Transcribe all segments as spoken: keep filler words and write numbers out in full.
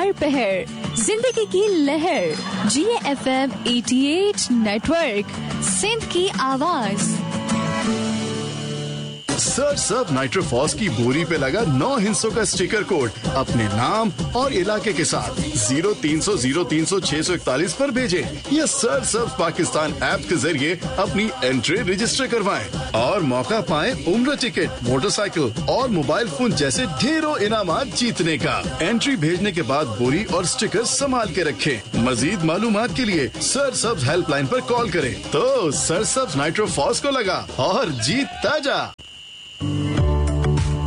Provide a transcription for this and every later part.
हर पहर जिंदगी की लहर। जी एफ एम अठासी नेटवर्क, सिंध की आवाज। सर सब नाइट्रोफॉस की बोरी पे लगा नौ हिंसों का स्टिकर कोड अपने नाम और इलाके के साथ जीरो तीन सौ जीरो तीन सौ छह सौ इकतालीस पर भेजें या सर सब पाकिस्तान ऐप के जरिए अपनी एंट्री रजिस्टर करवाएं और मौका पाएं उम्र टिकट, मोटरसाइकिल और मोबाइल फोन जैसे ढेरों इनामात जीतने का। एंट्री भेजने के बाद बोरी और स्टिकर संभाल के रखें। मजीद मालूमात के लिए सर सब हेल्पलाइन पर कॉल करें। तो सर सब नाइट्रोफॉस को लगा और जीतता जा।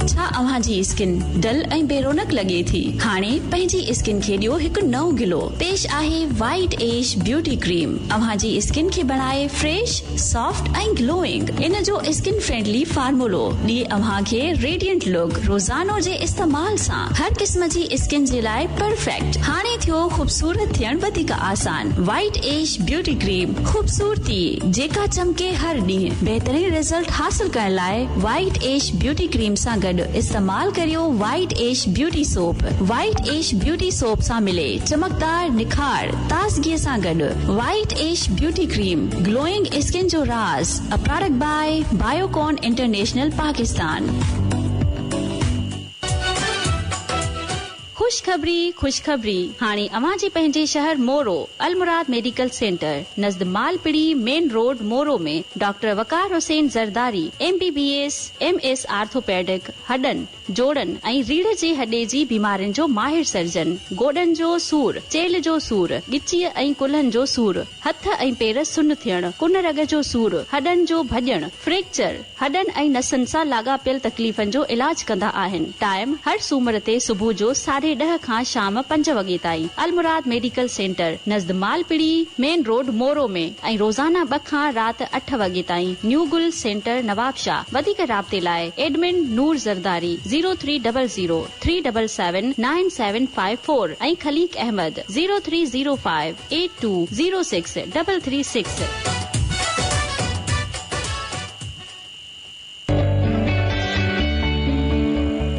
छा अव्हां जी स्किन डल ऐं बेरोनक लॻे थी? हाणे पंहिंजी स्किन खे ॾियो हिकु नओं गिलो। पेश आहे वाइट एश ब्यूटी क्रीम। अव्हां जी स्किन खे बणाए फ्रेश, सॉफ्ट ऐं ग्लोइंग। इन जो स्किन फ्रेंडली फार्मूलो ॾिए अव्हां खे रेडियंट लुक। रोज़ानो जे इस्तेमाल सां हर क़िस्म जी स्किन जे लाइ परफेक्ट। हाणे थियो ख़ूबसूरत थियण वधीक आसान। वाइट एश ब्यूटी क्रीम, ख़ूबसूरती जेका चमके हर ॾींहुं। बहितरीन रिज़ल्ट हासिल करण लाइ वाइट एश ब्यूटी क्रीम सां गॾु इस्तेमाल करियो white ash beauty soap. White ash beauty soap सां मिले चमकदार निखार ताज़गी सां गॾु। White ash beauty cream, glowing skin जो राज़। A product by Biocon international Pakistan. खुशखबरी खुशखबरी, हाणे अव्हां जे पंहिंजे शहर मोरो अलमुराद मेडिकल सेंटर नज़द Malpiri main road Moro में doctor Waqar Hussain Zardari M B B S M S orthopaedic हॾनि, जोड़नि ऐं रीढ़ जे हॾे जी बीमारियुनि जो माहिर सर्जन, गोॾनि जो सूर, चेल्ह जो सूर, ॻिचीअ ऐं कुल्हनि जो सूर, हथ ऐं पेर सुन थियणु, कुन रग जो सूर, हॾनि जो भॼणु, फ्रैक्चर, हॾनि ऐं नसनि सां लाॻापियल तकलीफ़नि जो इलाज कंदा आहिनि। टाइम हर सूमर ते सुबुह जो साढे ॾह खां शाम पंज वॻे ताईं। अलमुराद मेडिकल सेंटर नज़द मालपिड़ी मेन रोड मोरो में ऐं रोज़ाना ॿ खां राति अठ वॻे ताईं। न्यू गुल सेंटर नवाबशाह। वधीक राब्ते लाइ admin Noor Zardari zero three double zero three double seven nine seven five four ऐं Khaleeq Ahmed zero three zero five eight two zero six double three six.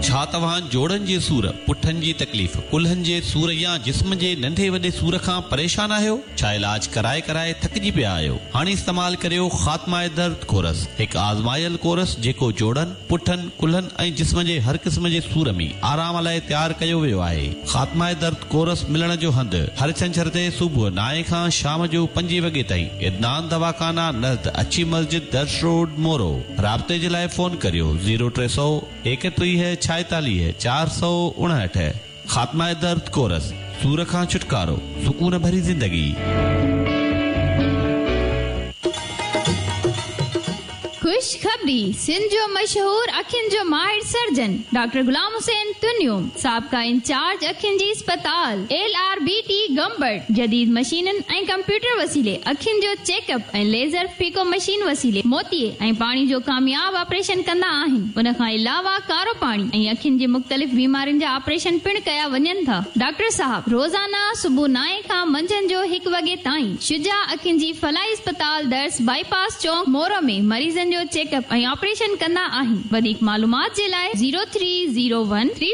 छा तव्हां जोड़नि जे सूर, पुठनि जी तकलीफ़, कुल्हनि जे सूर या जिस्म जे नंढे वॾे सूर खां परेशान आहियो? छा इलाज कराए कराए थकिजी पिया आहियो? हाणे इस्तेमाल करियो ख़ात्मा दर्द कोरस, हिकु आज़मायल कोरस जेको जोड़नि, पुठनि, कुल्हनि ऐं जिस्म जे हर क़िस्म जे सूर में आराम लाइ तयारु कयो वियो आहे। ख़ात्मा दर्द कोरस मिलण जो हंधु हर छंछर ते सुबुह नाए खां शाम जो पंजे वॻे ताईं। इदनान दवाखाना नज़द अच्छी मस्जिद दर्श रोड मोरो। राब्ते जे लाइ फ़ोन करियो ज़ीरो टे सौ एकटीह छाएतालीह चार सौ उणहठ। ख़ात्मा दर्द कोरस, सूर खां छुटकारो, सुकून भरी ज़िंदगी। खुशखबरी, सिंध जो मशहूर अखियुनि जो माहिर सर्जन डॉक्टर गुलाम हुसैन तुनियो साबिक़ा इंचार्ज अखियुनि जी अस्पताल L R B T Gambat जदीद मशीननि ऐं कंप्यूटर वसीले अखियुनि जो चेकअप ऐं लेज़र फीको मशीन वसीले मोतीए ऐं पाणी जो कामयाब ऑपरेशन कंदा आहिनि। उन खां अलावा कारो पाणी ऐं अखियुनि जी मुख़्तलिफ़ बीमारियुनि जा ऑपरेशन पिणु कया वञनि था। डॉक्टर साहब रोज़ाना सुबुह नाए खां मंझंदि जो हिकु वॻे ताईं शुजा अखियुनि जी फलाई अस्पताल दर्स बाईपास चौक मोरो में मरीज़नि जो चेकअप ऐं ऑपरेशन कंदा आहिनि। वधीक मालूमात जे लाइ zero three zero one three